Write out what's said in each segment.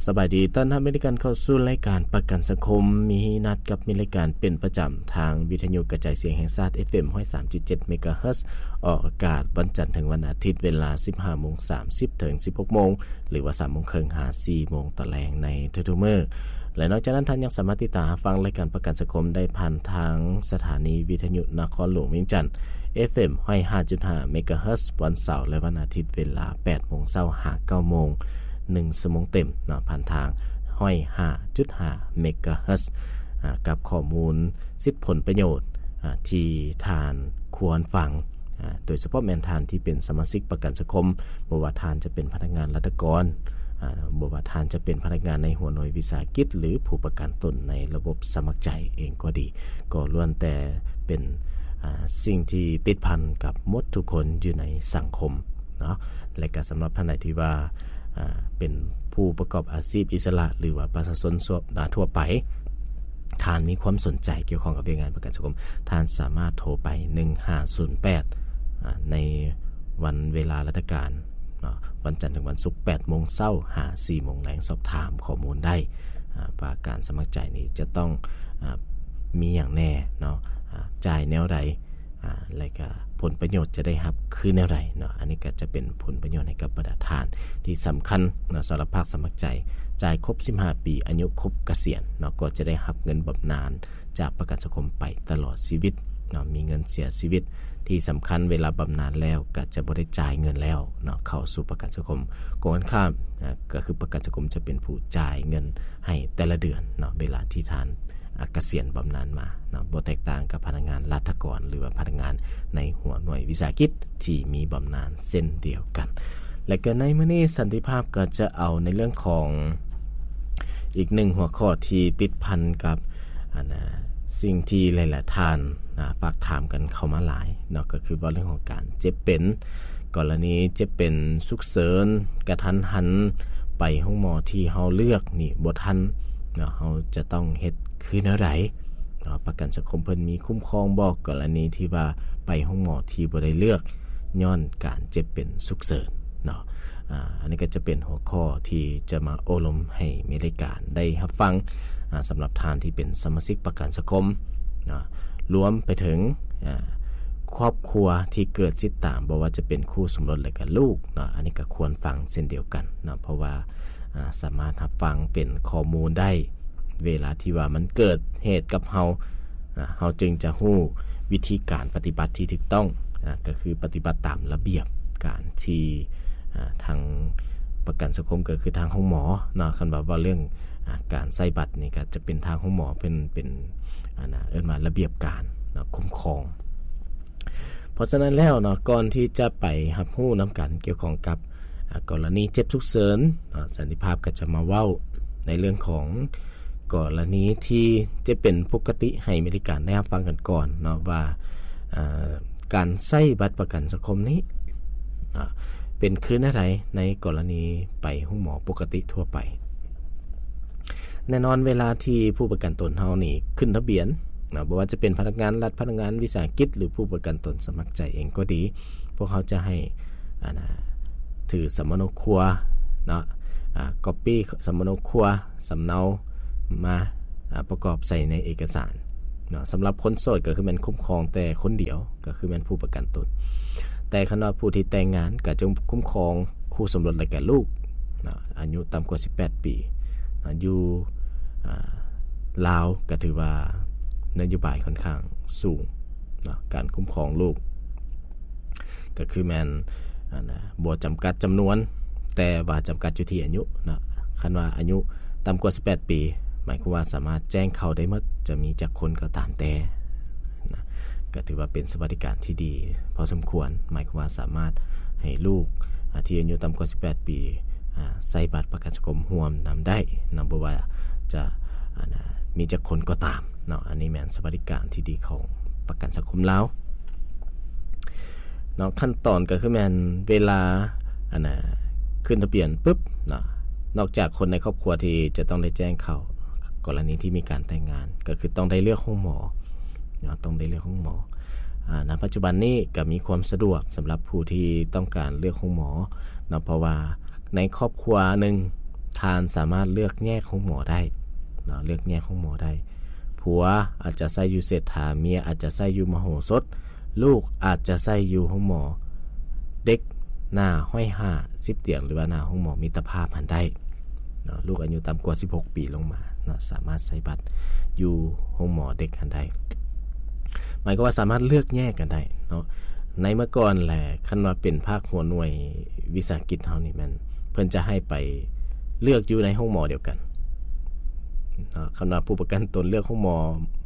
ສະບາຍດີ ຕ້ອນຮັບມິດຕະການເຂົ້າສູ່ລາຍການປະກັນສັງຄົມ ມີນັດກັບມິດຕະການເປັນປະຈຳ ທາງວິທະຍຸກະຈາຍສຽງແຫ່ງຊາດ ເອຟເອັມ ຮ້ອຍສາມຈຸດເຈັດ ເມກາເຮີດ ອອກອາກາດວັນຈັນເຖິງວັນອາທິດ ເວລາ ສິບຫ້າໂມງສາມສິບ ເຖິງ ສິບຫົກໂມງ ຫຼືວ່າ ສາມໂມງເຄິ່ງ ຫາ ສີ່ໂມງຕອນແລງໃນທຸກໆມື້ ແລະ ນອກຈາກນັ້ນ ທ່ານຍັງສາມາດຕິດຕາມຮັບຟັງລາຍການປະກັນສັງຄົມໄດ້ຜ່ານທາງສະຖານີວິທະຍຸນະຄອນຫຼວງວຽງຈັນ ເອຟເອັມ ຮ້ອຍຫ້າຈຸດຫ້າ ເມກາເຮີດ ວັນເສົາ ແລະ ວັນອາທິດ ເວລາ ແປດໂມງເຊົ້າ ຫາ ເກົ້າໂມງ ໜຶ່ງຊົ່ວໂມງເຕັມເນາະ ຜ່ານທາງ ຮ້ອຍຫ້າຈຸດຫ້າ ເມກາເຮີດ ອາ ກັບຂໍ້ມູນ ສິດຜົນປະໂຫຍດ ອາ ທີ່ທ່ານຄວນຟັງ ອາ ໂດຍສະເພາະແມ່ນທ່ານທີ່ເປັນສະມາຊິກປະກັນສັງຄົມ, ບໍ່ວ່າທ່ານຈະເປັນພະນັກງານລັດຖະກອນ, ອາ ບໍ່ວ່າທ່ານຈະເປັນພະນັກງານໃນຫົວໜ່ວຍວິສາຫະກິດ ຫຼື ຜູ້ປະກັນຕົນໃນລະບົບສະໝັກໃຈເອງກໍດີ, ກໍລ້ວນແຕ່ເປັນ ອາ ສິ່ງທີ່ຕິດພັນກັບໝົດທຸກຄົນຢູ່ໃນສັງຄົມເນາະ. ແລະ ກໍສຳລັບທ່ານໃດທີ່ວ່າ ອາ ເປັນຜູ້ປະກອບອາຊີບອິດສະຫຼະ ຫຼືວ່າປະຊາຊົນທົ່ວ ອາ ທົ່ວໄປ, ທ່ານມີຄວາມສົນໃຈກ່ຽວຂ້ອງກັບວຽກງານປະກັນສັງຄົມ, ທ່ານສາມາດໂທໄປ ໜຶ່ງຫ້າສູນແປດ ອາ ໃນວັນເວລາລັດຖະການເນາະ, ວັນຈັນເຖິງວັນສຸກ ແປດໂມງເຊົ້າ ຫາ ສີ່ໂມງແລງ, ສອບຖາມຂໍ້ມູນໄດ້ ອາ ວ່າການສະໝັກໃຈນີ້ຈະຕ້ອງ ອາ ມີຫຍັງແດ່ເນາະ, ອາ ຈ່າຍແນວໃດ ອາ ແລະກະຜົນປະໂຫຍດຈະໄດ້ຮັບຄືແນວໃດເນາະ. ອັນນີ້ກະຈະເປັນຜົນປະໂຫຍດໃຫ້ກັບບັນດາທ່ານທີ່ສຳຄັນເນາະ ສຳລັບພາກສະໝັກໃຈ ຈ່າຍຄົບສິບຫ້າປີ ອາຍຸຄົບກະສຽນເນາະ ກໍຈະໄດ້ຮັບເງິນບຳນານຈາກປະກັນສັງຄົມໄປຕະຫຼອດຊີວິດເນາະ, ມີເງິນເສຍຊີວິດ. ທີ່ສຳຄັນເວລາບຳນານແລ້ວກະຈະບໍ່ໄດ້ຈ່າຍເງິນແລ້ວເນາະ ເຂົ້າສູ່ປະກັນສັງຄົມ, ກົງກັນຂ້າມ ອາ ກະຄືປະກັນສັງຄົມຈະເປັນຜູ້ຈ່າຍເງິນໃຫ້ແຕ່ລະເດືອນເນາະ ເວລາທີ່ທ່ານ ອາ ກະສຽນບຳນານມາເນາະ, ບໍ່ແຕກຕ່າງກັບພະນັກງານລັດຖະກອນ ຫຼືວ່າພະນັກງານໃນຫົວໜ່ວຍວິສາຫະກິດທີ່ມີບຳນານເຊັ່ນດຽວກັນ. ແລະກະໃນມື້ນີ້ສັນຕິພາບກໍຈະເອົາໃນເລື່ອງຂອງອີກໜຶ່ງຫົວຂໍ້ທີ່ຕິດພັນກັບ ອັນ ອາ ສິ່ງທີ່ຫຼາຍໆທ່ານ ອາ ຝາກຖາມກັນເຂົ້າມາຫຼາຍເນາະ, ກໍຄືເວົ້າເລື່ອງຂອງການເຈັບເປັນ. ກໍລະນີເຈັບເປັນສຸກເສີນ ກະທັນຫັນ ໄປໂຮງໝໍທີ່ເຮົາເລືອກນີ້ບໍ່ທັນເນາະ, ເຮົາຈະຕ້ອງເຮັດຄືແນວໃດເນາະ? ປະກັນສັງຄົມເພິ່ນມີຄຸ້ມຄອງບໍ່ ກໍລະນີທີ່ວ່າໄປໂຮງໝໍທີ່ບໍ່ໄດ້ເລືອກຍ້ອນການເຈັບເປັນສຸກເສີນເນາະ? ອາ ອັນນີ້ກໍຈະເປັນຫົວຂໍ້ທີ່ຈະມາໂອ້ລົມໃຫ້ມີລາຍການໄດ້ຮັບຟັງ ອາ ສຳລັບທ່ານທີ່ເປັນສະມາຊິກປະກັນສັງຄົມເນາະ, ລວມໄປເຖິງ ອາ ຄອບຄົວທີ່ເກີດຕິດຕາມ ບໍ່ວ່າຈະເປັນຄູ່ສົມລົດ ແລະກະລູກເນາະ, ອັນນີ້ກະຄວນຟັງເຊັ່ນດຽວກັນເນາະ, ເພາະວ່າ ອາ ສາມາດຮັບຟັງເປັນຂໍ້ມູນໄດ້ ເວລາທີ່ວ່າມັນເກີດເຫດກັບເຮົາ ອາ ເຮົາຈຶ່ງຈະຮູ້ວິທີການປະຕິບັດທີ່ຖືກຕ້ອງ ອາ ກະຄືປະຕິບັດຕາມລະບຽບການທີ່ ອາ ທາງປະກັນສັງຄົມ ກະຄືທາງໂຮງໝໍເນາະ, ຄັນວ່າເວົ້າເລື່ອງ ອາ ການໃຊ້ບັດນີ້ກະຈະເປັນທາງໂຮງໝໍເປັນ ເປັນ ອັນ ອາ ເອີ້ນວ່າລະບຽບການເນາະ ຄຸ້ມຄອງ. ເພາະສະນັ້ນແລ້ວເນາະ ກ່ອນທີ່ຈະໄປຮັບຮູ້ນຳກັນກ່ຽວຂ້ອງກັບ ອາ ກໍລະນີເຈັບສຸກເສີນເນາະ, ສັນຕິພາບກໍຈະມາເວົ້າໃນເລື່ອງຂອງກໍລະນີທີ່ຈະເປັນປົກກະຕິໃຫ້ມີລາຍການໄດ້ຮັບຟັງກັນກ່ອນເນາະວ່າ ອາ ການໃຊ້ບັດປະກັນສັງຄົມນີ້ ອາ ເປັນຄືແນວໃດໃນກໍລະນີໄປໂຮງໝໍປົກກະຕິທົ່ວໄປ. ແນ່ນອນເວລາທີ່ຜູ້ປະກັນຕົນເຮົານີ້ຂຶ້ນທະບຽນເນາະ, ບໍ່ວ່າຈະເປັນພະນັກງານລັດ, ພະນັກງານວິສາຫະກິດ ຫຼື ຜູ້ປະກັນຕົນສະໝັກໃຈເອງກໍດີ, ພວກເຮົາຈະໃຫ້ ອັນ ອາ ຖືສຳມະໂນຄົວເນາະ, ອາ ກັອບປີ້ສຳມະໂນຄົວ ສຳເນົາມາ ອາ ປະກອບໃສ່ໃນເອກະສານເນາະ. ສຳລັບຄົນໂສດກໍຄືແມ່ນຄຸ້ມຄອງແຕ່ຄົນດຽວ ກໍຄືແມ່ນຜູ້ປະກັນຕົນ. ແຕ່ຄັນວ່າຜູ້ທີ່ແຕ່ງງານກໍຈະຄຸ້ມຄອງຄູ່ສົມລົດ ແລະກະລູກເນາະ ອາຍຸຕ່ຳກວ່າສິບແປດປີເນາະ, ຢູ່ ອາ ລາວກໍຖືວ່ານະໂຍບາຍຂ້ອນຂ້າງສູງເນາະ ການຄຸ້ມຄອງລູກ ກໍຄືແມ່ນ ອັນ ບໍ່ຈຳກັດຈຳນວນ ແຕ່ວ່າຈຳກັດຢູ່ທີ່ອາຍຸເນາະ. ຄັນວ່າອາຍຸຕ່ຳກວ່າສິບແປດປີ ໝາຍຄວາມວ່າສາມາດແຈ້ງເຂົ້າໄດ້ໝົດ ຈະມີຈັກຄົນກໍຕາມແຕ່ນະ, ກໍຖືວ່າເປັນສະຫວັດດີການທີ່ດີພໍສົມຄວນ, ໝາຍຄວາມວ່າສາມາດໃຫ້ລູກ ອາ ທີ່ອາຍຸຕ່ຳກວ່າສິບແປດປີ ອາ ໃຊ້ບັດປະກັນສັງຄົມຮ່ວມນຳໄດ້ເນາະ, ບໍ່ວ່າຈະ ອັນ ອາ ມີຈັກຄົນກໍຕາມເນາະ. ອັນນີ້ແມ່ນສະຫວັດດີການທີ່ດີຂອງປະກັນສັງຄົມລາວ ເນາະ. ຂັ້ນຕອນກໍຄືແມ່ນເວລາ ອັນນ່າ ຂຶ້ນທະບຽນປຶບເນາະ, ນອກຈາກຄົນໃນຄອບຄົວທີ່ຈະຕ້ອງໄດ້ແຈ້ງເຂົ້າ ກໍລະນີທີ່ມີການແຕ່ງງານ ກໍຄືຕ້ອງໄດ້ເລືອກໂຮງໝໍເນາະ, ຕ້ອງໄດ້ເລືອກໂຮງໝໍ. ອາ ນະປັດຈຸບັນນີ້ກໍມີຄວາມສະດວກສຳລັບຜູ້ທີ່ຕ້ອງການເລືອກໂຮງໝໍເນາະ, ເພາະວ່າໃນຄອບຄົວໜຶ່ງ ທ່ານສາມາດເລືອກແຍກໂຮງໝໍໄດ້ເນາະ, ເລືອກແຍກໂຮງໝໍໄດ້. ຜົວອາດຈະໃຊ້ຢູ່ເສດຖາ, ເມຍອາດຈະໃຊ້ຢູ່ມະໂຫສົດ, ລູກອາດຈະໃຊ້ຢູ່ໂຮງໝໍເດັກໜ້າຮ້ອຍຫ້າສິບຕຽງ ຫຼືວ່າໜ້າໂຮງໝໍມິດຕະພາບຫັ້ນໄດ້ເນາະ. ລູກອາຍຸຕ່ຳກວ່າສິບຫົກປີລົງມາເນາະ ສາມາດໃຊ້ບັດຢູ່ໂຮງໝໍເດັກຫັ້ນໄດ້. ໝາຍຄວາມວ່າສາມາດເລືອກແຍກກັນໄດ້ເນາະ. ໃນເມື່ອກ່ອນແຫຼະ ຄັນວ່າເປັນພາກຫົວໜ່ວຍວິສາຫະກິດເຮົານີ້ແມ່ນ ເພິ່ນຈະໃຫ້ໄປເລືອກຢູ່ໃນໂຮງໝໍດຽວກັນເນາະ. ຄັນວ່າຜູ້ປະກັນຕົນເລືອກໂຮງໝໍ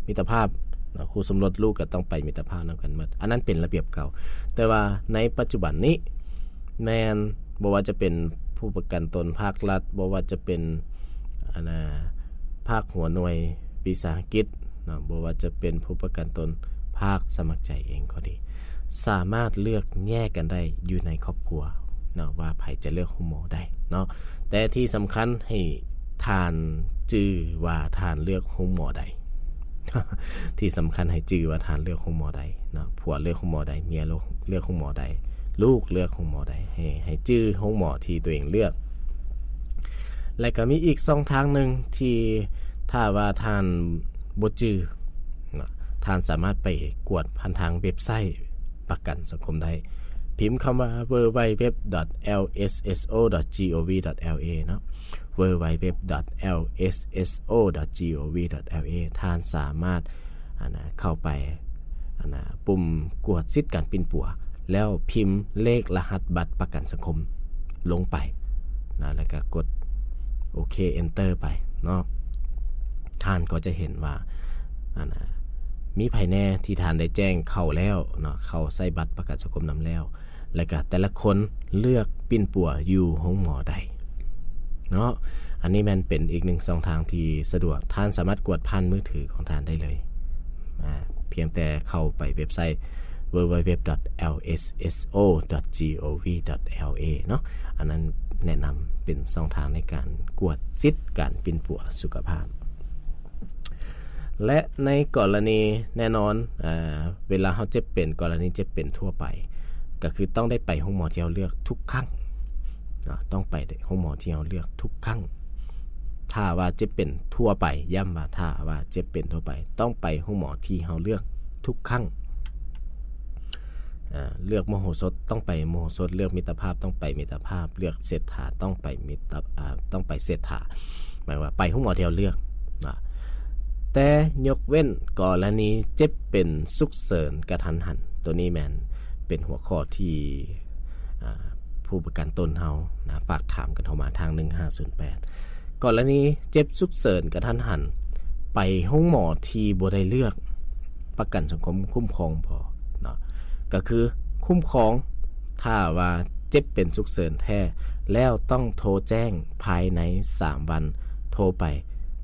ມິດຕະພາບເນາະ, ຄູ່ສົມລົດລູກກໍຕ້ອງໄປມິດຕະພາບນຳກັນໝົດ. ອັນນັ້ນເປັນລະບຽບເກົ່າ. ແຕ່ວ່າໃນປັດຈຸບັນນີ້ ແມ່ນ ບໍ່ວ່າຈະເປັນຜູ້ປະກັນຕົນພາກລັດ, ບໍ່ວ່າຈະເປັນ ອັນນ່າ ພາກຫົວໜ່ວຍວິສາຫະກິດເນາະ, ບໍ່ວ່າຈະເປັນຜູ້ປະກັນຕົນພາກສະໝັກໃຈເອງກໍດີ, ສາມາດເລືອກແຍກກັນໄດ້ຢູ່ໃນຄອບຄົວເນາະ ວ່າໃຜຈະເລືອກໂຮງໝໍໃດເນາະ. ແຕ່ທີ່ສຳຄັນໃຫ້ທ່ານຈື່ວ່າທ່ານເລືອກໂຮງໝໍໃດ. ທີ່ສຳຄັນໃຫ້ຈື່ວ່າທ່ານເລືອກໂຮງໝໍໃດເນາະ, ຜົວເລືອກໂຮງໝໍໃດ, ເມຍເລືອກ ເລືອກໂຮງໝໍໃດ, ລູກເລືອກໂຮງໝໍໃດ, ໃຫ້ ໃຫ້ຈື່ໂຮງໝໍທີ່ຕົວເອງເລືອກ. ແລະກໍມີອີກຊ່ອງທາງໜຶ່ງທີ່ຖ້າວ່າທ່ານບໍ່ຈື່ເນາະ, ທ່ານສາມາດໄປກວດຜ່ານທາງເວັບໄຊປະກັນສັງຄົມໄດ້. ພິມຄຳວ່າ www.lsso.gov.la ເນາະ, www.lsso.gov.la ທ່ານສາມາດ ອັນນ່າ ເຂົ້າໄປ ອັນນ່າ ປຸ່ມກວດສິດການປິ່ນປົວ ແລ້ວພິມເລກລະຫັດບັດປະກັນສັງຄົມລົງໄປນະ ແລ້ວກໍກົດໂອເຄ Enter ໄປເນາະ. ທ່ານກໍຈະເຫັນວ່າ ອັນນ່າ ມີໃຜແດ່ທີ່ທ່ານໄດ້ແຈ້ງເຂົ້າແລ້ວເນາະ, ເຂົ້າໃຊ້ບັດປະກັນສັງຄົມນຳແລ້ວ ແລ້ວກະແຕ່ລະຄົນເລືອກປິ່ນປົວຢູ່ໂຮງໝໍໃດເນາະ. ອັນນີ້ແມ່ນເປັນອີກໜຶ່ງຊ່ອງທາງທີ່ສະດວກ, ທ່ານສາມາດກວດຜ່ານມືຖືຂອງທ່ານໄດ້ເລີຍ ອາ ພຽງແຕ່ເຂົ້າໄປເວັບໄຊ www.lsso.gov.la ເນາະ. ອັນນັ້ນແນະນຳເປັນຊ່ອງທາງໃນການກວດສິດການປິ່ນປົວສຸຂະພາບ. ແລະໃນກໍລະນີແນ່ນອນ ອາ ເວລາເຮົາເຈັບເປັນ ກໍລະນີເຈັບເປັນທົ່ວໄປ ກໍຄືຕ້ອງໄດ້ໄປໂຮງໝໍທີ່ເຮົາເລືອກທຸກຄັ້ງເນາະ, ຕ້ອງໄປໂຮງໝໍທີ່ເຮົາເລືອກທຸກຄັ້ງ. ຖ້າວ່າເຈັບເປັນທົ່ວໄປ, ຢ້ຳວ່າຖ້າວ່າເຈັບເປັນທົ່ວໄປ, ຕ້ອງໄປໂຮງໝໍທີ່ເຮົາເລືອກທຸກຄັ້ງ. ອາ ເລືອກມະໂຫສົດ ຕ້ອງໄປມະໂຫສົດ, ເລືອກມິດຕະພາບ ຕ້ອງໄປມິດຕະພາບ, ເລືອກເສດຖາ ຕ້ອງໄປມິດຕະ ອາ ຕ້ອງໄປເສດຖາ. ໝາຍວ່າໄປໂຮງໝໍທີ່ເຮົາເລືອກນະ, ແຕ່ຍົກເວັ້ນກໍລະນີເຈັບເປັນສຸກເສີນກະທັນຫັນ. ໂຕນີ້ແມ່ນເປັນຫົວຂໍ້ທີ່ ອາ ຜູ້ປະກັນຕົນເຮົານະ ຝາກຖາມກັນເຂົ້າມາທາງໜຶ່ງຫ້າສູນແປດ. ກໍລະນີເຈັບສຸກເສີນກະທັນຫັນ ໄປໂຮງໝໍທີ່ບໍ່ໄດ້ເລືອກ ປະກັນສັງຄົມຄຸ້ມຄອງບໍ່ເນາະ, ກໍຄືຄຸ້ມຄອງ ຖ້າວ່າເຈັບເປັນສຸກເສີນແທ້ແລ້ວ ຕ້ອງໂທແຈ້ງພາຍໃນສາມວັນ, ໂທໄປ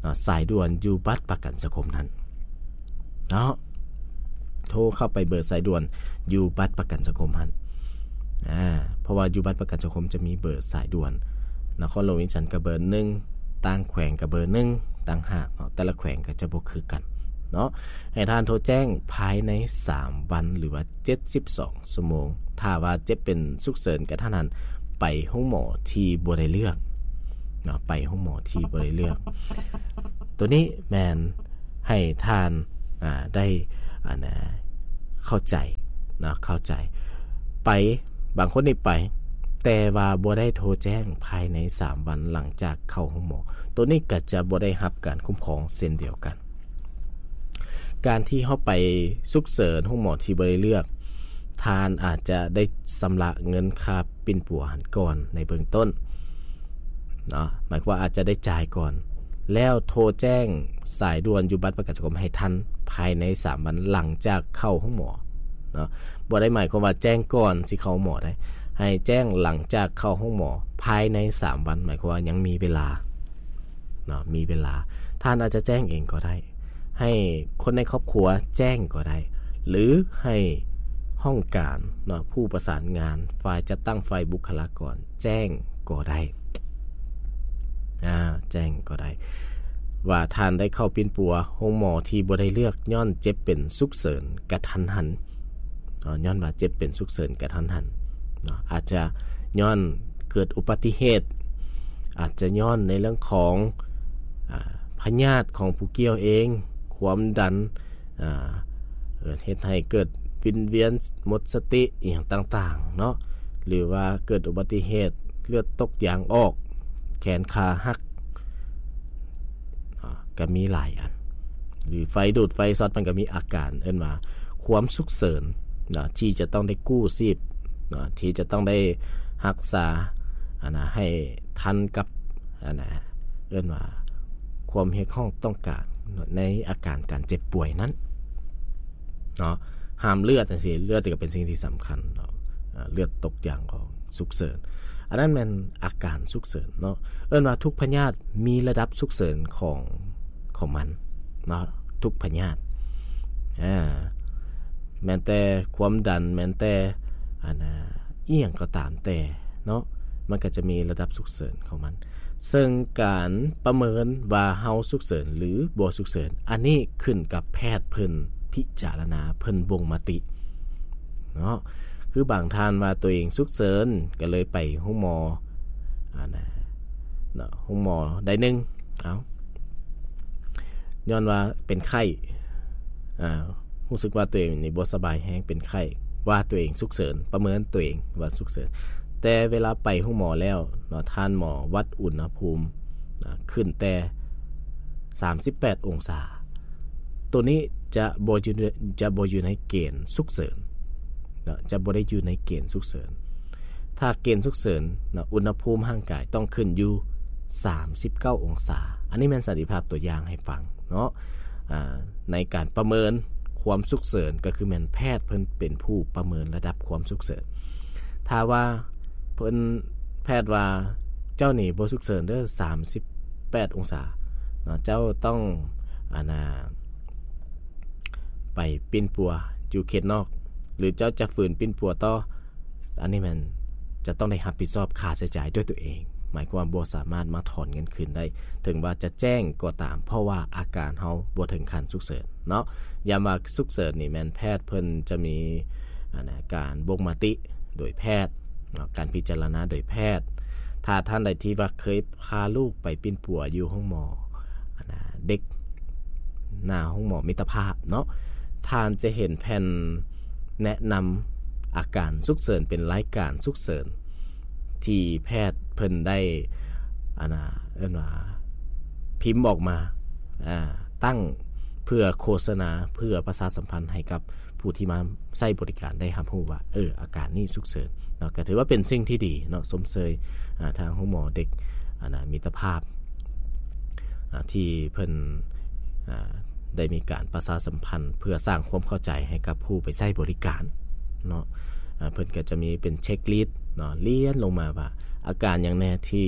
ເນາະ ສາຍດ່ວນຢູ່ບັດປະກັນສັງຄົມນັ້ນເນາະ, ໂທເຂົ້າໄປເບີສາຍດ່ວນຢູ່ບັດປະກັນສັງຄົມຫັ້ນ. ອາ ເພາະວ່າຢູ່ບັດປະກັນສັງຄົມຈະມີເບີສາຍດ່ວນ, ນະຄອນຫຼວງວຽງຈັນກໍເບີໜຶ່ງ, ຕ່າງແຂວງກໍເບີໜຶ່ງຕ່າງຫາກເນາະ, ແຕ່ລະແຂວງກໍຈະບໍ່ຄືກັນເນາະ. ໃຫ້ທ່ານໂທແຈ້ງພາຍໃນສາມວັນ ຫຼືວ່າເຈັດສິບສອງຊົ່ວໂມງ. ຖ້າວ່າເຈັບເປັນສຸກເສີນກະທັນຫັນ ໄປໂຮງໝໍທີ່ບໍ່ໄດ້ເລືອກເນາະ, ໄປໂຮງໝໍທີ່ບໍ່ໄດ້ເລືອກ. ໂຕນີ້ແມ່ນໃຫ້ທ່ານ ອາ ໄດ້ ອັນ ອາ ເຂົ້າໃຈເນາະ, ເຂົ້າໃຈ. ໄປ ບາງຄົນນີ້ໄປ ແຕ່ວ່າບໍ່ໄດ້ໂທແຈ້ງພາຍໃນສາມວັນຫຼັງຈາກເຂົ້າໂຮງໝໍ, ໂຕນີ້ກໍຈະບໍ່ໄດ້ຮັບການຄຸ້ມຄອງເຊັ່ນດຽວກັນ. ການທີ່ເຮົາໄປສຸກເສີນໂຮງໝໍທີ່ບໍ່ໄດ້ເລືອກ, ທ່ານອາດຈະໄດ້ຊຳລະເງິນຄ່າປິ່ນປົວຫັ້ນກ່ອນໃນເບື້ອງຕົ້ນເນາະ, ໝາຍຄວາມວ່າອາດຈະໄດ້ຈ່າຍກ່ອນ ແລ້ວໂທແຈ້ງສາຍດ່ວນຢູ່ບັດປະກັນສັງຄົມໃຫ້ທັນພາຍໃນສາມວັນຫຼັງຈາກເຂົ້າໂຮງໝໍເນາະ. ບໍ່ໄດ້ໝາຍຄວາມວ່າແຈ້ງກ່ອນຊິເຂົ້າໂຮງໝໍໄດ໋, ໃຫ້ແຈ້ງຫຼັງຈາກເຂົ້າໂຮງໝໍພາຍໃນສາມວັນ, ໝາຍຄວາມວ່າຍັງມີເວລາເນາະ, ມີເວລາ. ທ່ານອາດຈະແຈ້ງເອງກໍໄດ້, ໃຫ້ຄົນໃນຄອບຄົວແຈ້ງກໍໄດ້ ຫຼືໃຫ້ຫ້ອງການເນາະ, ຜູ້ປະສານງານ, ຝ່າຍຈັດຕັ້ງ, ຝ່າຍບຸກຄະລາກອນແຈ້ງກໍໄດ້, ອາ ແຈ້ງກໍໄດ້ ວ່າທ່ານໄດ້ເຂົ້າປິ່ນປົວໂຮງໝໍທີ່ບໍ່ໄດ້ເລືອກ ຍ້ອນເຈັບເປັນສຸກເສີນກະທັນຫັນເນາະ, ຍ້ອນວ່າເຈັບເປັນສຸກເສີນກະທັນຫັນເນາະ, ອາດຈະຍ້ອນເກີດອຸບັດຕິເຫດ, ອາດຈະຍ້ອນໃນເລື່ອງຂອງ ອາ ພະຍາດຂອງຜູ້ກ່ຽວເອງ, ຄວາມດັນ, ອາ ເຮັດໃຫ້ເກີດວິນວຽນໝົດສະຕິອີ່ຫຍັງຕ່າງໆເນາະ ຫຼືວ່າເກີດອຸບັດຕິເຫດ ເລືອດຕົກຢາງອອກ, ແຂນຂາຫັກ ອາ ກໍມີຫຼາຍອັນ ຫຼືໄຟດູດໄຟຊັອດ ມັນກໍມີອາການເອີ້ນວ່າຄວາມສຸກເສີນນະ ທີ່ຈະຕ້ອງໄດ້ກູ້ຊີບນະ ທີ່ຈະຕ້ອງໄດ້ຮັກສາ ອັນນະ ໃຫ້ທັນກັບ ອັນນະ ເອີ້ນວ່າຄວາມຮຽກຮ້ອງຕ້ອງການໃນອາການການເຈັບປ່ວຍນັ້ນເນາະ. ຫ້າມເລືອດຈັ່ງຊີ້ ເລືອດກໍເປັນສິ່ງທີ່ສຳຄັນເນາະ ອາ ເລືອດຕົກຢາງອອກ ສຸກເສີນ ອັນນັ້ນແມ່ນອາການສຸກເສີນເນາະ. ເອີ້ນວ່າທຸກພະຍາດມີລະດັບສຸກເສີນຂອງ ຂອງມັນເນາະ ທຸກພະຍາດ ອາ ແມ່ນແຕ່ຄວາມດັນ ແມ່ນແຕ່ ອັນນະ ອີ່ຫຍັງກໍຕາມແຕ່ເນາະ ມັນກໍຈະມີລະດັບສຸກເສີນຂອງມັນ. ເຊິ່ງການປະເມີນວ່າເຮົາສຸກເສີນ ຫຼື ບໍ່ສຸກເສີນ ອັນນີ້ຂຶ້ນກັບແພດເພິ່ນພິຈາລະນາ ເພິ່ນບົ່ງມະຕິເນາະ. ຄືບາງທ່ານວ່າຕົວເອງສຸກເສີນ ກໍເລີຍໄປໂຮງໝໍ ອັນນະ ເນາະ ໂຮງໝໍໄດ້ໜຶ່ງ ເອົາ ຍ້ອນວ່າເປັນໄຂ້ ອາ ຮູ້ສຶກວ່າຕົວເອງນີ້ບໍ່ສະບາຍແຮງ ເປັນໄຂ້ ວ່າຕົວເອງສຸກເສີນ ປະເມີນຕົວເອງວ່າສຸກເສີນ. ແຕ່ເວລາໄປໂຮງໝໍແລ້ວເນາະ ທ່ານໝໍວັດອຸນຫະພູມ ອາ ຂຶ້ນແຕ່ສາມສິບແປດອົງສາ ໂຕນີ້ຈະບໍ່ຢູ່ ຈະບໍ່ຢູ່ໃນເກນສຸກເສີນເນາະ ຈະບໍ່ໄດ້ຢູ່ໃນເກນສຸກເສີນ. ຖ້າເກນສຸກເສີນເນາະ ອຸນຫະພູມຮ່າງກາຍຕ້ອງຂຶ້ນຢູ່ສາມສິບເກົ້າອົງສາ. ອັນນີ້ແມ່ນສັນຕິພາບຕົວຢ່າງໃຫ້ຟັງເນາະ ອາ ໃນການປະເມີນຄວາມສຸກເສີນ ກໍຄືແມ່ນແພດເພິ່ນເປັນຜູ້ປະເມີນລະດັບຄວາມສຸກເສີນ. ຖ້າວ່າເພິ່ນ ແພດວ່າ ເຈົ້ານີ້ບໍ່ສຸກເສີນເດີ ສາມສິບແປດອົງສາເນາະ ເຈົ້າຕ້ອງ ອັນນະ ໄປປິ່ນປົວຢູ່ເຂດນອກ ຫຼື ເຈົ້າຈະຝືນປິ່ນປົວຕໍ່ ອັນນີ້ແມ່ນຈະຕ້ອງໄດ້ຮັບຜິດຊອບຄ່າໃຊ້ຈ່າຍດ້ວຍຕົວເອງ ໝາຍຄວາມວ່າບໍ່ສາມາດມາຖອນເງິນຄືນໄດ້ ເຖິງວ່າຈະແຈ້ງກໍຕາມ ເພາະວ່າອາການເຮົາບໍ່ເຖິງຂັ້ນສຸກເສີນເນາະ. ຍາມວ່າສຸກເສີນນີ້ແມ່ນແພດເພິ່ນຈະມີ ອັນນະ ການບົ່ງມະຕິໂດຍແພດເນາະ ການພິຈາລະນາໂດຍແພດ. ຖ້າທ່ານໃດທີ່ວ່າເຄີຍພາລູກໄປປິ່ນປົວຢູ່ໂຮງໝໍ ອັນນະ ເດັກ ໜ້າໂຮງໝໍມິດຕະພາບເນາະ ທ່ານຈະເຫັນແຜ່ນແນະນຳອາການສຸກເສີນ ເປັນລາຍການສຸກເສີນ ທີ່ແພດເພິ່ນໄດ້ ອັນນະ ເອີ້ນວ່າພິມອອກມາ ອາ ຕັ້ງເພື່ອໂຄສະນາ ເພື່ອປະຊາສຳພັນໃຫ້ກັບຜູ້ທີ່ມາໃຊ້ບໍລິການໄດ້ຮັບຮູ້ວ່າ ເອີ ອາການນີ້ສຸກເສີນເນາະ. ກໍຖືວ່າເປັນສິ່ງທີ່ດີເນາະ ຊົມເຊີຍ ອາ ທາງໂຮງໝໍເດັກ ອັນນະ ມິດຕະພາບ ອາ ທີ່ເພິ່ນ ອາ ໄດ້ມີການປະຊາສຳພັນເພື່ອສ້າງຄວາມເຂົ້າໃຈໃຫ້ກັບຜູ້ໄປໃຊ້ບໍລິການເນາະ. ອາ ເພິ່ນກໍຈະມີເປັນເຊັກລິດເນາະ ລຽນລົງມາວ່າອາການຫຍັງແດ່ທີ່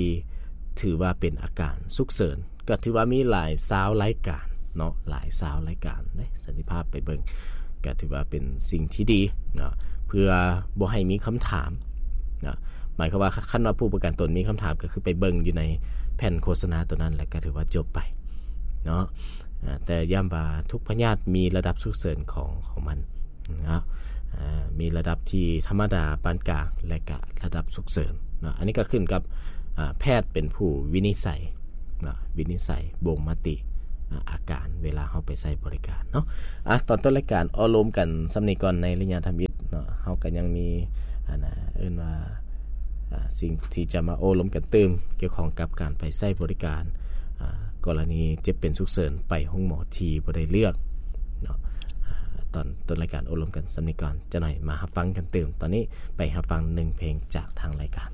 ຖືວ່າເປັນອາການສຸກເສີນ ກໍຖືວ່າມີຫຼາຍຊາວລາຍການເນາະ ຫຼາຍຊາວລາຍການເດ້ ສັນຕິພາບໄປເບິ່ງ ກໍຖືວ່າເປັນສິ່ງທີ່ດີເນາະ ເພື່ອບໍ່ໃຫ້ມີຄຳຖາມເນາະ. ໝາຍຄວາມວ່າ ຄັນວ່າຜູ້ປະກັນຕົນມີຄຳຖາມ ກໍຄືໄປເບິ່ງຢູ່ໃນແຜ່ນໂຄສະນາຕົວນັ້ນ ແລ້ວກໍຖືວ່າຈົບໄປເນາະ. ອາ ແຕ່ຢ້ຳວ່າທຸກພະຍາດມີລະດັບສຸກເສີນຂອງ ຂອງມັນເນາະ ອາ ມີລະດັບທີ່ທຳມະດາ ປານກາງ ແລະກະລະດັບສຸກເສີນເນາະ. ອັນນີ້ກໍຂຶ້ນກັບ ອາ ແພດເປັນຜູ້ວິນິດໄສເນາະ ວິນິດໄສບົ່ງມະຕິ ອາ ອາການເວລາເຮົາໄປໃຊ້ບໍລິການເນາະ. ອາ ຕອນຕົ້ນລາຍການເວົ້າລົມກັນສ່ຳນີ້ກ່ອນ ໃນໄລຍະທຳອິດເນາະ ເຮົາກໍຍັງມີ ອັນນະ ເອີ້ນວ່າ ອາ ສິ່ງທີ່ຈະມາໂອ້ລົມກັນຕື່ມ ກ່ຽວຂ້ອງກັບການໄປໃຊ້ບໍລິການ ອາ ກໍລະນີເຈັບເປັນສຸກເສີນໄປໂຮງໝໍທີ່ບໍ່ໄດ້ເລືອກເນາະ. ອາ ຕອນຕົ້ນລາຍການໂອ້ລົມກັນສ່ຳນີ້ກ່ອນ ຈັກໜ້ອຍມາຮັບຟັງກັນຕື່ມ. ຕອນນີ້ໄປຮັບຟັງໜຶ່ງເພງຈາກທາງລາຍການ.